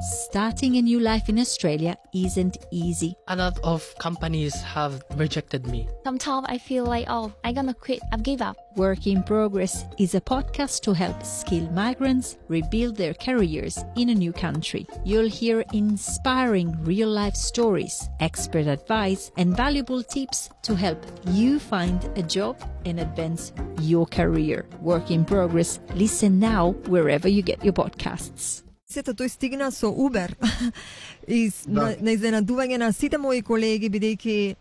Starting a new life in Australia isn't easy. A lot of companies have rejected me. Sometimes I feel like, I'm gonna quit, I've give up. Work in Progress is a podcast to help skilled migrants rebuild their careers in a new country. You'll hear inspiring real-life stories, expert advice, and valuable tips to help you find a job and advance your career. Work in Progress. Listen now wherever you get your podcasts. Сето тој стигна со Uber и на изненадување на сите мои колеги, бидејќи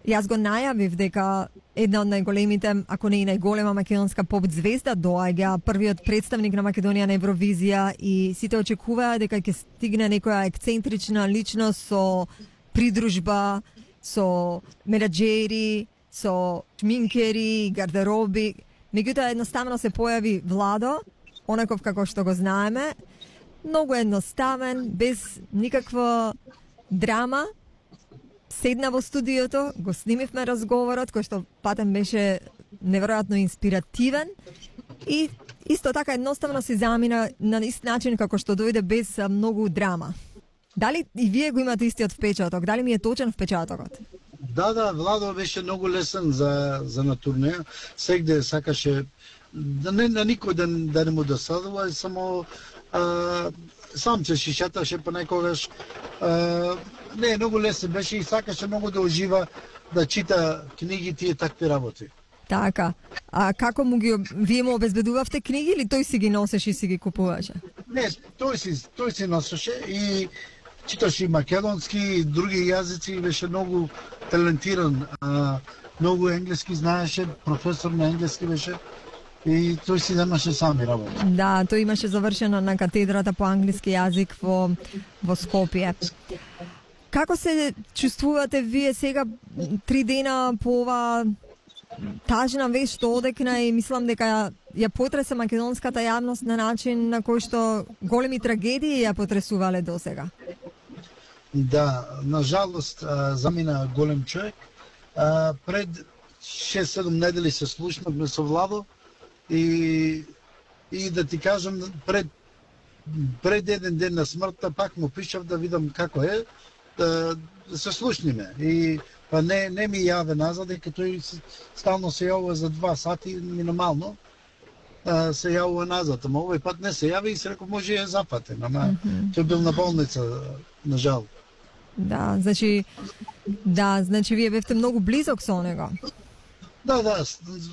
јас го најавив дека една од најголемите, ако не и најголема македонска поп звезда доаѓа, првиот представник на Македонија на Евровизија, и сите очекуваа дека ќе стигне некоја ексцентрична личност со придружба, со менаџери, со шминкери, гардероби. Меѓутоа едноставно се појави Владо, онаков како што го знаеме, многу едноставен, без никаква драма. Седна во студиото, го снимивме разговорот, кој што патем беше неверојатно инспиративен, и исто така едноставно се замина на ист начин како што дојде, без многу драма. Дали и вие го имате истиот впечаток? Дали ми е точен впечатокот? Да, Владо беше многу лесен за на турнеја. Сегде сакаше да никој да не му досадува, само сам се шишеташе понекогаш. Не, многу лесен беше и сакаше многу да ужива, да чита книгите и такви работи. Така. А како вие му обезбедувавте книги или тој си ги носеше и си ги купуваше? Не, тој си носеше и читаше и македонски и други јазици, беше многу талентиран. Многу енглески знаеше, професор на енглески беше. И тој си немаше сами работа. Да, тој имаше завршено на катедрата по англиски јазик во Скопје. Како се чувствувате вие сега 3 дена по ова тажна вест што одекна, и мислам дека ја потресе македонската јавност на начин на кој што големи трагедии ја потресувале досега? Да, на жалост замина голем човек. Пред 6-7 недели се слушнавме со Владо. И да ти кажам, пред еден ден на смртта пак му пишав да видам како е, да се слушниме. И па не ми јаве назад, дека тој стално се јавува за 2 сати минимално, се јавува назад. Ама овој пат не се јави и се реков може ја запатен, ама тој бил на болница, на жал. Да, значи вие бевте многу близок со него. Да,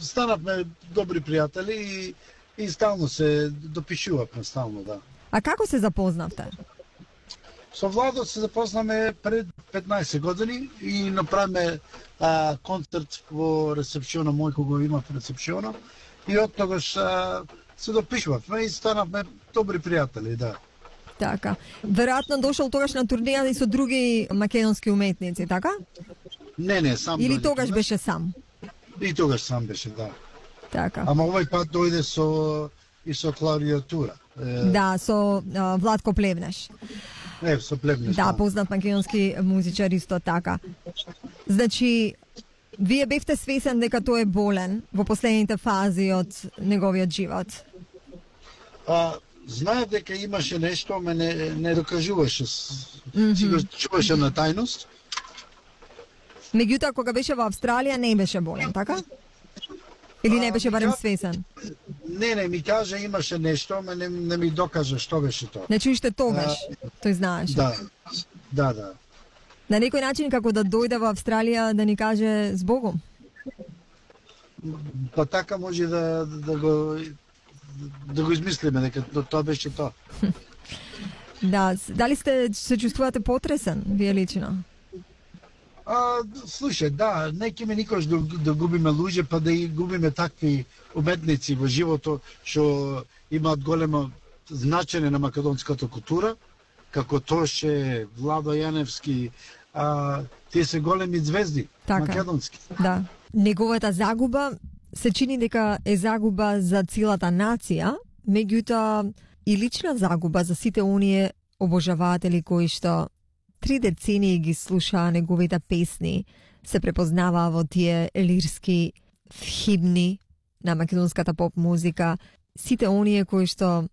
станавме добри пријатели и стално се допишувавме, да. А како се запознавте? Со Владо се запознаме пред 15 години и направиме концерт во ресепциона, мој кога има в ресепциона, и од тогаш се допишувавме и станавме добри пријатели, да. Така. Веројатно дошол тогаш на турнеја и со други македонски уметници, така? Не, сам. Или тогаш беше сам? И тогаш сам беше, да. Така. Ама овој пат дојде со клавиатура. Да, со Владко Плевнеш. Со Плевнеш. Да, познат македонски музичар исто така. Значи, вие бевте свесен дека тој е болен во последните фази од неговиот живот? Знаев дека имаше нешто, ама не докажуваше. Си го чуваше на тајност. Меѓутоа, кога беше во Австралија, не беше болен, така? Или не беше барем свесен? Не, ми кажа имаше нешто, ама не ми докажа што беше тоа. Значи уште тогаш, тој знаеше? Да. На некој начин како да дојде во Австралија да ни каже збогом? Па така може да го измислиме, дека тоа беше тоа. Да, дали се чувствувате потресен, вие лично? Слушај, да, не ќе ме никош да губиме луѓе, па да и губиме такви уметници во живото што имаат големо значење на македонската култура, како Тоше, Владо Јаневски, тие се големи звезди, така, македонски. Да. Неговата загуба се чини дека е загуба за целата нација, меѓутоа и лична загуба за сите оние обожаватели кои што 3 децении ги слушаа неговите песни, се препознаваа во тие лирски химни на македонската поп музика, сите оние кои што